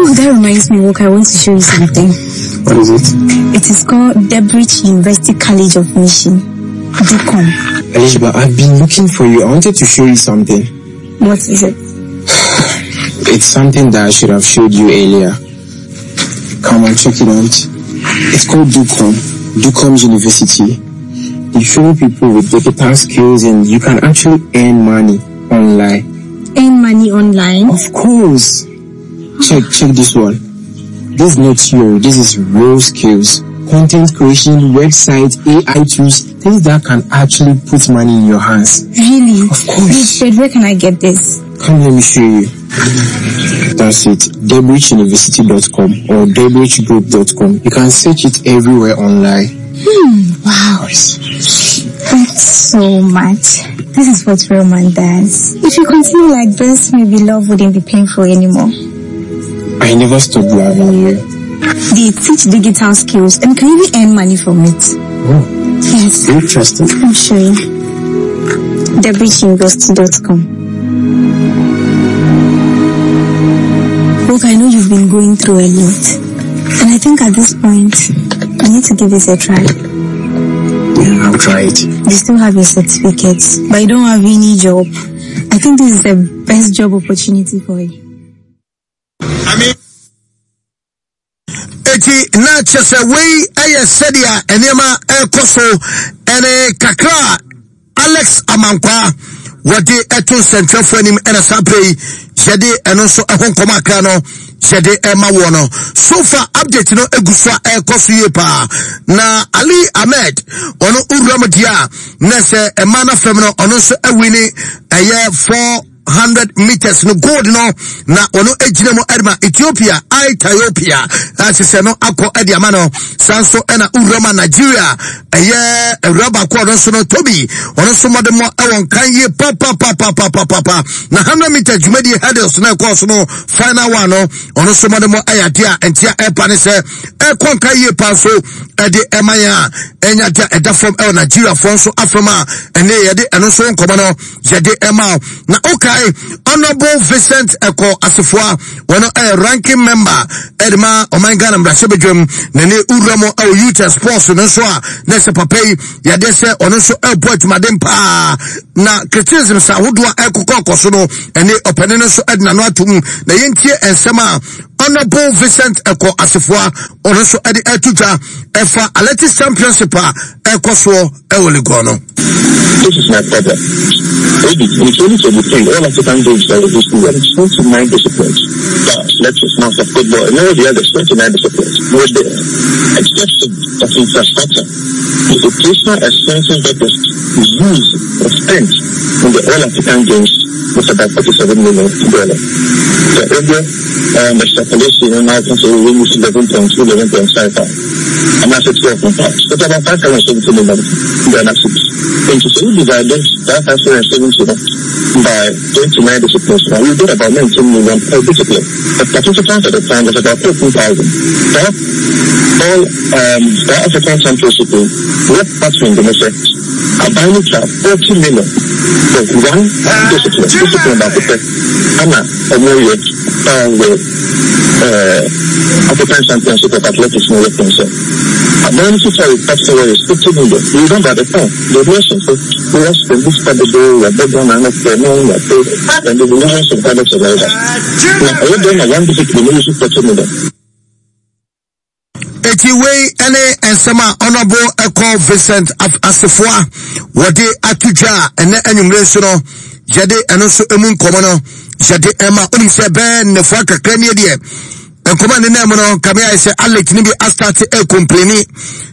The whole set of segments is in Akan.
Oh, that reminds me, Walker, I want to show you something. What is it? It is called Debridge University College of Mission. DUCOM. Elishba, I've been looking for you. I wanted to show you something. What is it? It's something that I should have showed you earlier. Come on, check it out. It's called DUCOM, DUCOM University. They train people with digital skills and you can actually earn money online. Earn money online? Of course. Check, check this one. This is not theory, this is real skills. Content creation, website, AI tools, things that can actually put money in your hands. Really? Of course. Wait, where can I get this? Come, let me show you. That's it. DebridgeUniversity.com or DebridgeGroup.com. You can search it everywhere online. Hmm, wow. Thanks so much. This is what real man does. If you continue like this, maybe love wouldn't be painful anymore. I never stopped loving you. They teach digital skills and can even earn money from it. Oh. Yes. Interesting. I'm sure. DebridgeUniversity.com. Look, I know you've been going through a lot. And I think at this point, you need to give this a try. Yeah, I'll try it. You still have your certificates, but you don't have any job. I think this is the best job opportunity for you. Eti na kyerɛ sɛ wei yɛ sɛdeɛ nneɛma ɛrekɔ so ɛne kakra a Alex Amankwaa wɔde ɛto nsɛntwerɛfoɔ anim ɛna saa berɛ yi yɛde ɛno nso ɛho nkɔmɔ akra no yɛde ɛma woɔ no so far update no egu so a ɛrekɔ so yie paa na Ali Ahmed ɔno owura mu deɛ a na sɛ ɛma no fam no ɔno nso awini ɛyɛ 400 meters no gold no na ɔno gyina mu ɛde ma Ethiopia Ethiopia ahyehyɛ no akɔ ɛde ama no saa nso ɛna owura ma Nigeria ɛyɛ awura baako ɔno nso no Toby ɔno nso mmɔdemmɔ ɛwɔ nkan yie papapapapapapa na 100 meters dwumadie hurdles na ɛkɔɔ so no final one no ɔno nso mmɔdemmɔ ɛyɛ adeɛ a ntia ɛpa ne sɛ ɛkɔ nkan yie paa nso ɛde ɛma yɛn a ɛnya adeɛ a ɛda fam ɛwɔ Nigeriafoɔ nso afam a ɛne yɛde ɛno nso nkɔmɔ no yɛde ɛma wo na okae honorable vincent ɛkɔ asefoa wɔn ɛyɛ ranking member ɛde ma ɔman ghana mmarahyɛbadwam na ne wura mu ɛwɔ youth and sports no nso a na ɛsɛ papa yi yɛde sɛ ɔno nso ɛbɔ adwumaden paa na criticism sa ahodoɔ a ɛkokɔ kɔ so no ɛne ɔpanin no nso ɛde n'ano atom na yɛntie nsɛm a honorable vincent ɛkɔ asefoa ɔno nso ɛde ɛto dwa ɛfa athletics championship a ɛkɔ soɔ ɛwɔ Legon no. This is my problem. Maybe in 2023, all African games that were hosted were 29 disciplines. The athletics, master football, and all the others, 29 disciplines were there. Exception of infrastructure. The operational expenses that was used or spent in the All African Games was about $47 million. The earlier um, extrapolation in now can say we use 11.2, 11.5. And that's a 12.5. It's about 570 million Ghana cedis. And so we divided that 570 by 29 disciplines. Now we get about 19 million per discipline. The participants at the time was about 13,000. That all um, the African Championship, what partner in the aban no twa 40 million for one discipline discipline baako pɛ ɛna ɔmo yɛ wɔ ɛɛ African Championship of Athletics no yɛ pɛn sɛ aban no sika yɛ top sɛ is 50 million. You remember the time the nation sɛ we are spend this kind of day yɛ bɛ Ghana no fɛ no yɛ pɛ and the millions of dollars of that na ɛyɛ dɛn na one discipline no yɛ 40 million. Eti wei ne nsɛm a Honourable Ɛkɔ Vincent Asefoa wɔde ato dwa a ɛnɛ anwummere nso no yɛde ɛno nso emu nkɔmɔ no yɛde ɛma onim sɛ bɛɛ nnɛfoa kakra nie deɛ nkɔmɔ a nenam mu no kame ayɛ sɛ Alex ne bi astate ɛkompleni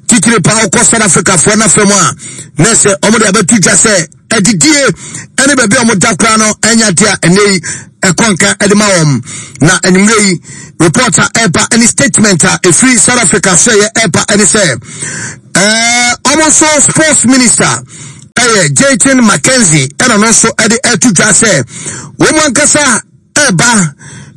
titiri paa wokɔ South Africa foɔ n'afɛ mu a na sɛ wɔn de abɛto dwa sɛ adidie ne baabi a wɔda koraa no ɛnyɛ adeɛ a ɛnɛ yi ɛkɔ nka ɛde ma wɔn na anwummerɛ yi report a ɛba ne statement a ɛfiri South Africa so ɛyɛ ɛba ɛne sɛ ɛɛ wɔn nso sports minister ɛyɛ Jayton McKenzie ɛna no nso ɛde ɛto dwa sɛ wɔn ankasa. ɛreba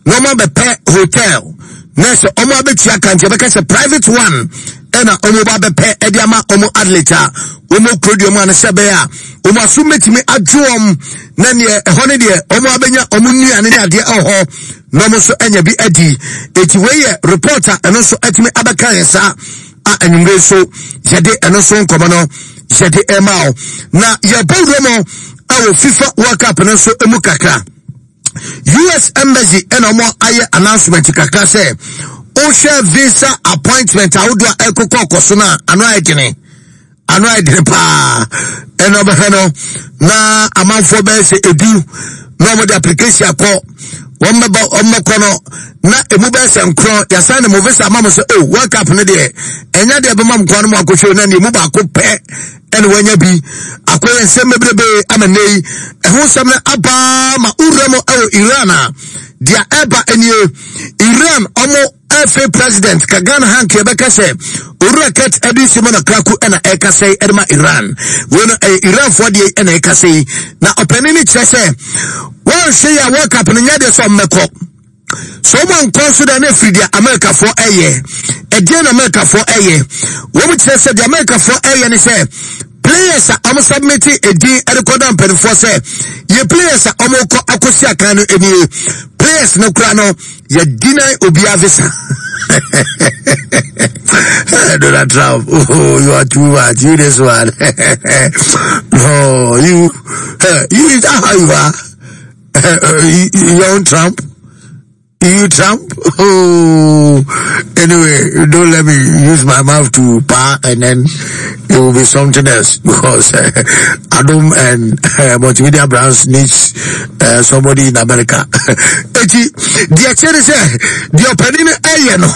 na wɔn abɛpɛ hotel na sɛ wɔn abɛtua ka nti ɛbɛka sɛ private one ɛna wɔn ba abɛpɛ ɛde ama wɔn athlete a wɔn kuro deɛ mu ano sɛ ɛbɛyɛ a wɔn aso mɛtumi adwo wɔn na neɛ ɛhɔ ne deɛ wɔn abɛnya wɔn nnuane ne adeɛ ɛwɔ hɔ na wɔn nso anya bi adi. Eti wei yɛ report a ɛno nso atumi abɛka yɛn saa a anwummere nso yɛde ɛno nso nkɔmɔ no yɛde ɛma o. Na yɛbɔ wura mu ɛwɔ FIFA World Cup no nso mu kakra. US Embassy ɛna wɔn ayɛ announcement kakra sɛ wohwɛ visa appointment ahodoɔ a ɛkokɔ kɔ so no a ano ayɛ dene. Ano ayɛ dene paa. Ɛna ɔbɛhwɛ no na amanfoɔ bɛyɛ sɛ edu na wɔn de application akɔ wɔn bɛbɔ wɔn bɛkɔ no na emu bɛyɛ sɛ nkorɔ yasan ne mo visa ama mo sɛ oh world cup no deɛ ɛnya deɛ bɛma mo kwan no mo akɔhwɛ na deɛ emu baako pɛ ɛna wɔanya bi akɔyɛ nsɛm bebrebe ama nnɛ yi ɛho nsɛm no aba ma wura mu ɛwɔ Iran a deɛ ɛba nie Iran ɔmo FA president ka Ghana ha nka yɛbɛka sɛ Owura Kurt Edwin Simon Okraku ɛna ɛkasa yi ɛde ma Iran. Wei no ɛyɛ Iranfoɔ deɛ ɛna ɛkasa yi. Na ɔpanin no kyerɛ sɛ wɔnhwɛ yi a World Cup no nyɛ deɛ sɛ ɔmmɛkɔ. So wɔn ankɔ nso deɛ na ɛfiri deɛ Amerikafoɔ ɛyɛ. Ɛdeɛ na Amerikafoɔ ɛyɛ. Wɔn kyerɛ sɛ deɛ Amerikafoɔ ɛyɛ ne sɛ players a wɔn submit edin ɛde kɔda mpanimfoɔ sɛ yɛ players a wɔn kɔ akɔsi akan no nie players no kora no yɛ deny obiara visa Donald Trump, oh, you are too much. You this one. No, you, you is that how you are? You, your own Trump? You Trump? Oh, anyway, don't let me use my mouth to pa and then it will be something else because Adam and Multimedia Brands needs somebody in America. Eti, deɛ kyerɛ ne sɛ deɛ ɔpanin no ɛyɛ no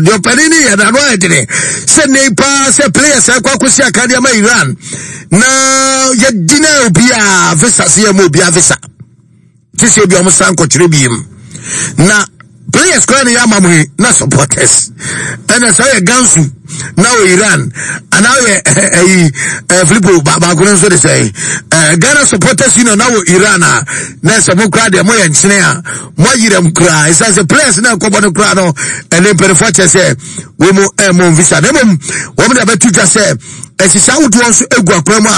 deɛ ɔpanin no yɛ no ano ayɛ dene sɛ ne paa sɛ players ɛkɔ akɔsi akadeɛ ama Iran na yɛdi na obiara visa sɛ yɛ ma obiara visa te sɛ ebi ɔmo san kɔkyerɛ biem na players koraa na yɛ ama mo yi na supporters ɛna sɛ ɔyɛ gansu na ɔyɛ Iran anaa ɔyɛ ɛyi ɛɛ Filipo baako no nso de sɛ ɛɛ Ghana supporters union na wɔ Iran a na sɛ mo koraa deɛ mo yɛ nkyene a mo ayira mu koraa ɛsan sɛ players na nkɔbɔ no koraa no ɛne mpanyinfoɔ kyɛ sɛ wɔn mu ɛmo visa na mmom wɔn de abɛto dwa sɛ Nhyehyɛe ahodoɔ nso gu akwan mu a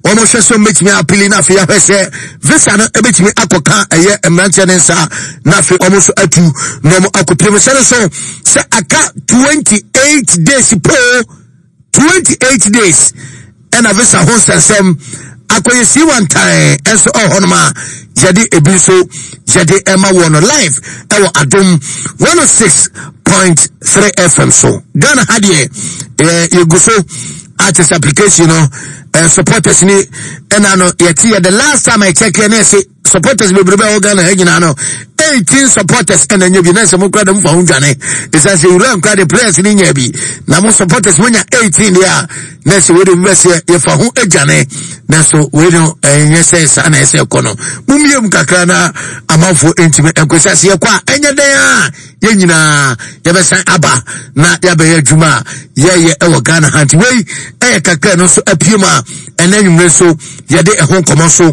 wɔhwɛ sɛ wɔbɛtumi apili na afei ahwɛ sɛ visa no bɛtumi akɔka ɛyɛ mmeranteɛ no nsa na afei wɔn nso atu na wɔn akɔpie mu sɛ no so sɛ aka 28 days po 28 days ɛna visa ho nsɛnsɛm akɔyɛ si wantan nso ɛwɔ hɔnom a yɛde ebi nso yɛde ɛma wɔ no live ɛwɔ adom 106.3 fm so ghana ha deɛ yɛ yɛgu so artist application no eh, supporters ni ɛna no yɛte yɛ the last time I check yɛ ne ɛse supporters bebrebe a ɛwɔ ghana ha nyinaa no 18 supporters ɛna nya bi na sɛ mo kura dɛm fa ho dwane ɛsiane sɛ wura nkura de players no nya bi na mo supporters mo nya 18 deɛ a na sɛ wei de mbɛsɛ yɛfa ho adwane na so wei no ɛnyɛ sɛ saa na ɛsɛ kɔ no mommie mu kakra na amanfoɔ ntumi nkɔ sɛ sɛ yɛkɔ a ɛnyɛ dɛn a yɛn nyinaa yɛbɛsan aba na yɛabɛyɛ adwuma a yɛyɛ ɛwɔ ghana ha nti wei ɛyɛ kakra no nso apue mu a ɛnɛ nwumere so yɛde ɛho nkɔmmɔ so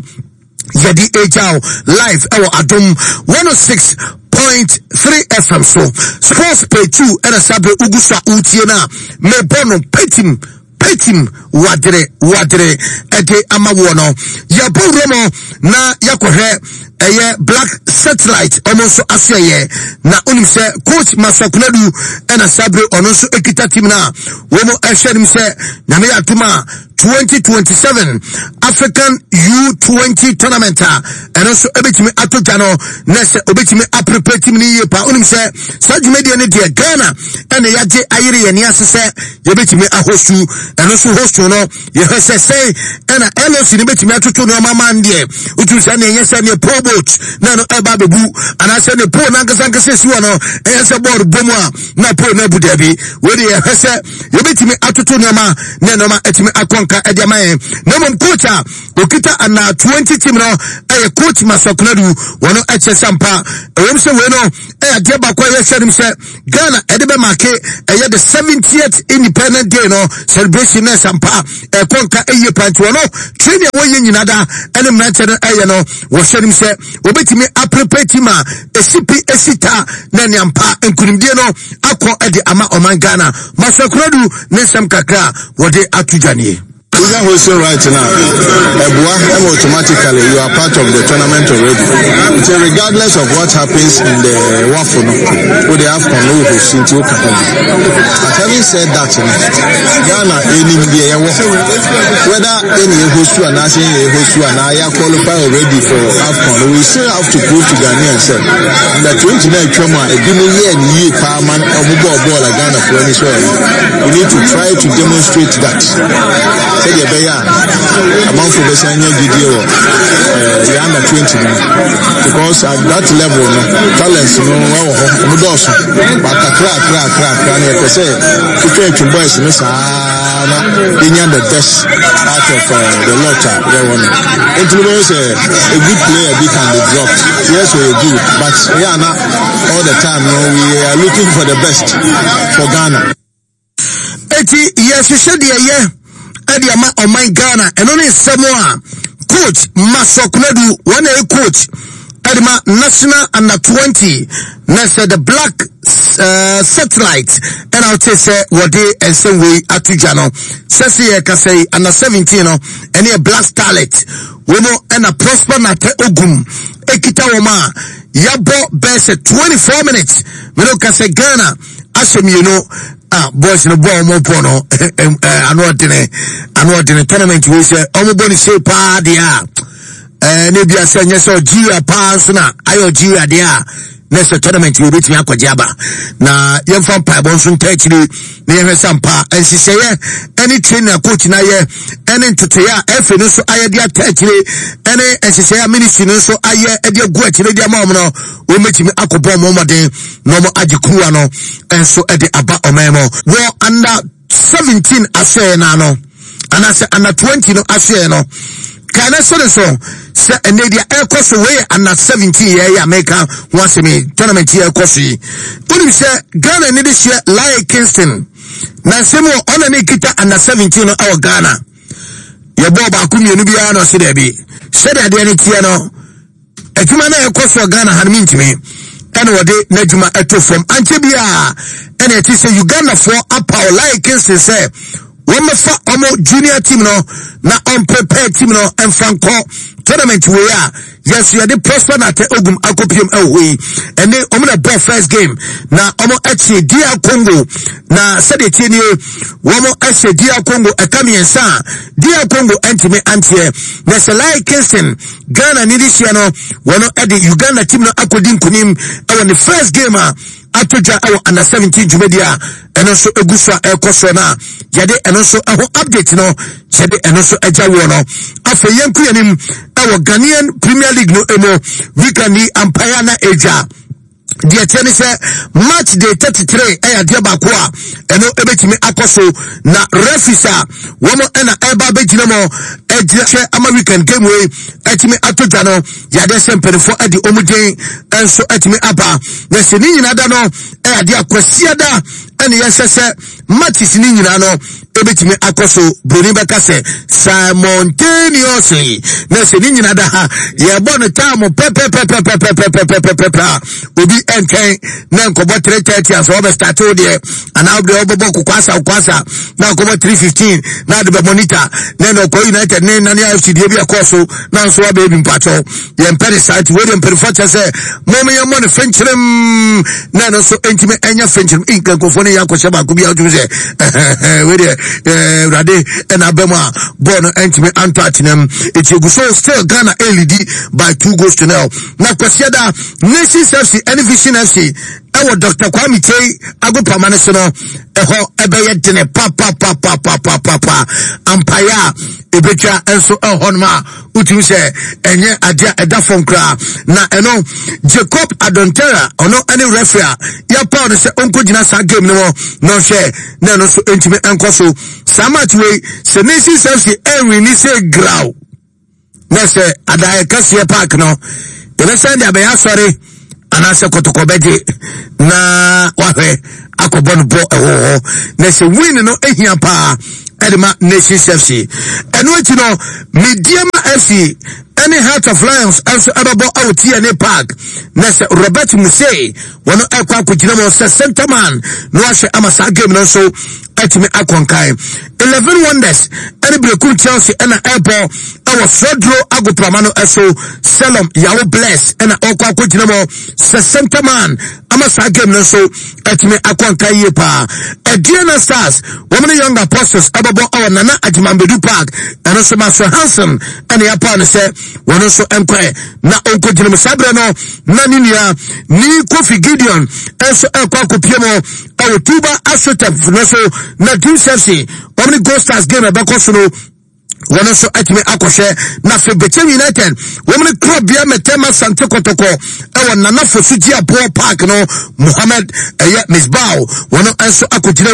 yɛde agya wo live ɛwɔ adom 106.3 fm so sports page 2 ɛna saa berɛ wogu so a wotie no a mebɔ no petim petim wadere wadere ɛde ama woɔ no yɛbɔ wura mu na yɛkɔhwɛ ɛyɛ black satellite ɔmo nso asoɛyɛ na wonim sɛ coach masakunadu ɛna saa berɛ ɔno nso ɛkita team no a wɔn ɛhwɛ nim sɛ nyame yɛ atom a 2027 African U20 tournament a ɛno nso ɛbɛtumi ato dwa no na sɛ obɛtumi aprepare team no yie paa wonim sɛ saa dwumadie no deɛ Ghana ɛna yɛagye ayere yɛn ani ase sɛ yɛbɛtumi ahosu ɛno nso hostu no yɛhwɛ sɛ sɛn ɛna LOC no bɛtumi atoto nneɛma ma no deɛ wotum sɛ neɛ ɛnyɛ sɛ neɛ pole boat na ɛno ɛba abɛbu anaasɛ ne pole no ankasa ankasa ɛsi hɔ no ɛyɛ sɛ bɔɔl bɔ mu a na pole no abu daabi wei deɛ yɛhwɛ sɛ yɛbɛtumi atoto nneɛma na nneɛma atumi akɔ nka. nka ɛde ama yɛn. Na mmom coach a okita under 20 team no ɛyɛ coach Masokunadu, wɔn ɛkyɛ sɛ mpa ɛwɔm sɛ wei no ɛyɛ adeɛ baako a yɛhwɛ anim sɛ Ghana ɛde bɛ make ɛyɛ the 70th independent day no celebration na ɛsɛ mpa ɛkɔ nka ɛyie pa. Nti wɔn training a wɔyɛ nyina da ɛne mmeranteɛ no ɛyɛ no, wɔhwɛ anim sɛ wɔbɛtumi aprepare team a ɛsi pi ɛsi ta na ɛne ampa nkunimdie no akɔ ɛde ama ɔman Ghana. Masokunadu ne nsɛm kakra a wɔde ato dwa nie. Wonya hosting right no a, ɛboa ma automatically you are part of the tournament already. Nti regardless of what happens in the WAFU no, wode AFCON no wo host nti woka ho bi. But having said that no, Ghana ɛnim deɛ yɛwɔ. Whether ɛne yɛhostu anaasɛ ɛne yɛhostu anaa yɛ qualify already for AFCON no, we still have to prove to Ghanaians sɛ under 20 na atwam a ebi mo yɛɛ ne yie paa ma ɔmo bɔɔ bɔɔl a Ghanafoɔ ani sɔɔ no. We need to try to demonstrate that. Sɛdeɛ ɛbɛyɛ a amanfoɔ bɛsan anya gyidie wɔ eh, yɛ under 20 no, because at that level no, talents no ɛwɔ hɔ, ɔmo dɔɔso, but kakra kakra kakra kakra no, yɛpɛ sɛ twitwa atwi boys no saa na yɛnya the best out of the lot a yɛwɔ no. Nti no bɛyɛ sɛ a good player bi can be dropped, yes, ɔyɛ good, but yɛ ana all the time no, we are looking for the best for Ghana. Eti yɛhyehyɛ deɛ yɛ ɛde ama ɔman Ghana. Ɛno ne nsɛm a coach Masɔ Konadu, wɔn na ɛyɛ coach ɛde ma national under 20 na sɛ the black satellite, ɛna wote sɛ wɔde nsɛm wei ato dwa no sɛ sɛ yɛkasa yi, under 17 no ɛne yɛ Black Starlet wɔn ɛna Prosper Nate Ogum ekita wɔn a yɛabɔ bɛyɛ sɛ 24 minutes. Mene ka sɛ Ghana ahyɛ mmienu a boys no bɔ wɔn bɔ no ano ɔdene, ano ɔdene. Tournament wei sɛ wɔn bɔ no se paa deɛ a ɛɛ ne bi asɛ nyɛ sɛ Algeria paa nso na ayɛ Algeria deɛ a, na sɛ tournament wei betumi akɔgye aba. Na yɛmfa mpaebɔ nso nta akyire na yɛhwɛ sɛ mpa nhyehyɛeɛ ɛne training a coach no ayɛ ɛne ntotoeɛ a ɛfɛ no nso ayɛ de ata akyire ɛne nhyehyɛeɛ a ministry no nso ayɛ de agu akyire de ama wɔn no, wɔbɛtumi akɔbɔ wɔn mmɔden na wɔn agye kuruwa no nso de aba ɔman mu. Wɔ under 17 asoɛeɛ no ano anaasɛ under 20 no asoɛeɛ no kae na sɛ ne so sɛ ɛnɛ deɛ ɛrekɔ so wei yɛ under 17 yɛ yɛ Amerika ho asɛm yi, tournament yɛ ɛrekɔ so yi. Wonim sɛ Ghana ne de hyɛ Lae Kingston na nsɛm wɔ ɔna ne kita under 17 no ɛwɔ Ghana. Yɛbɔɔ baako mmienu biara na ɔse daabi, sɛdeɛ adeɛ no teɛ no, adwuma no a ɛkɔ so Ghana ha no mentumi, ɛna wɔde n'adwuma ɛto fam. Ankyɛ biara ɛna ɛte sɛ Ugandafoɔ apaw Lae Kingston sɛ wɔmmɛfa wɔn junior team no na ɔmprepare team no mfa nkɔ tournament wei a yɛso yɛde Prosper Nate Ogum akɔpiem ɛwɔ hɔ yi. Ɛne wɔn na bɔ first game na wɔn akyi DR Congo, na sɛdeɛ tie nie, wɔn ahyɛ DR Congo ɛka mmiɛnsa a DR Congo ntumi anteɛ. Na sɛ Lae Kingston Ghana ne de hyia no, wɔn de Uganda team no akɔdi nkunim ɛwɔ ne first game a ato dwa ɛwɔ under 17 dwumadi a ɛno nso egu so a ɛrekɔ soɔ no a yɛde ɛno nso ɛho update no yɛde ɛno nso agya woɔ no. Afei yɛnko yɛn anim ɛwɔ Ghanaian Premier League no emu. Weekend yi ampaeɛ na ɛdwa deɛ kyɛ ne sɛ match day 33 ɛyɛ adeɛ baako a ɛno ɛbɛtumi akɔ so, na referees a wɔn ɛna ɛba abɛgyina mu ɛgyina hwɛ ama weekend game wei ɛtumi ato dwa no, yɛadeɛ sɛ mpanimfoɔ ɛde wɔn den nso ɛtumi aba. Na sɛ ne nyinaa da no ɛyɛ adeɛ akwasiada ɛne yɛhyɛ sɛ matches ne nyinaa no ebetumi akɔ so, broni bɛka sɛ simultaneously. Na sɛ ne nyinaa da ha yɛbɔ no time pɛpɛpɛpɛpɛpɛpɛpɛpɛ a, obi ɛntwɛn na nkɔbɔ 3:30 asɛ wɔbɛ start wo deɛ, anaa wode wɔbɛbɔ kokwasa kokwasa na akɔbɔ 3:15 na ade bɛ monitor na ɛna ɔkɔ United ne Nane FC deɛ bi ɛkɔɔ so na nso wabɛyɛ bi. Mpakyɛw, yɛmpɛ ne saa, nti wei deɛ mpanimfoɔ kyɛ sɛ mom yɛmmɔ no fenkyerem na ɛno nso ntumi ɛnyɛ fenkyerem. Nka nkurɔfoɔ no yɛ akɔhyɛ baako bi a wotumi sɛ wei deɛ awurade ɛna aba mu a bɔɔl no ntumi antɔ atenam. Ɛti egu so still Ghana ɛlidi by 2 goals to nil. Na Kwasiada, Nations FC ɛne Vision FC. ɛwɔ Dr. Kwame Kyei agopama no so no, ɛhɔ ɛbɛyɛ dene papapapapapapa. Ampaeɛ a ɛbɛtwa nso ɛhɔ nom a wotumi sɛ ɛnyɛ adeɛ a ɛda fam koraa. Na ɛno Jacob Adontera ɔno ɛne referee a yɛpaw no sɛ ɔnkɔgyina saa game no hɔ na ɔhwɛ na ɛno nso ntumi nkɔ so. Saa match wei sɛ Nations FC ɛnwini sɛ graw na sɛ adaeɛ kɛseɛ park no yɛbɛsan de abɛyɛ asɔre anaasɛ kɔtɔkɔ bɛgye na wahwɛ akɔbɔ no bɔ ɛwɔ hɔ na sɛ win no ehia paa ɛde ma Nations FC. Ɛno akyi no Mediama FC ɛne Heart of Lions nso ɛbɛbɔ ɛwɔ TNA Park na sɛ Robert Muse wɔn ɛkɔ akɔgyina mu sɛ centerman na wahwɛ ama saa game no nso atumi akɔ nkan. Eleven Wonders ɛne Berekum Chelsea ɛna ɛbɔ ɛwɔ Sodro agoprama no ɛso. Selom Yawo Bless ɛna ɔkɔ akɔgyina mu sɛ centerman ama saa game no nso atumi akɔ nkan yie paa. Aduana Stars wɔn ne Young Apostles ɛbɛbɔ ɛwɔ Nana Agyemambedu Park, ɛno nso Maxwell Hansen ɛna yɛapaw no sɛ wɔn nso nkɔɛ na ɔnkɔgyina mu saa berɛ no, na ne nua ne Kofi Gideon nso ɛkɔ akɔpie mu ɛwɔ Tuba Asotef no so, na Dreams FC wɔn ne Gold Stars game ɛbɛkɔ so no wɔn nso atumi akɔhwɛ. Na afei Bɛkyɛm United wɔn ne Korɔbea Mɛtɛma Sante Kɔtɔkɔ ɛwɔ Nana Fosu Gye Aboɔ Park no, Mohammed ɛyɛ Misbao wɔn nso akɔgyina.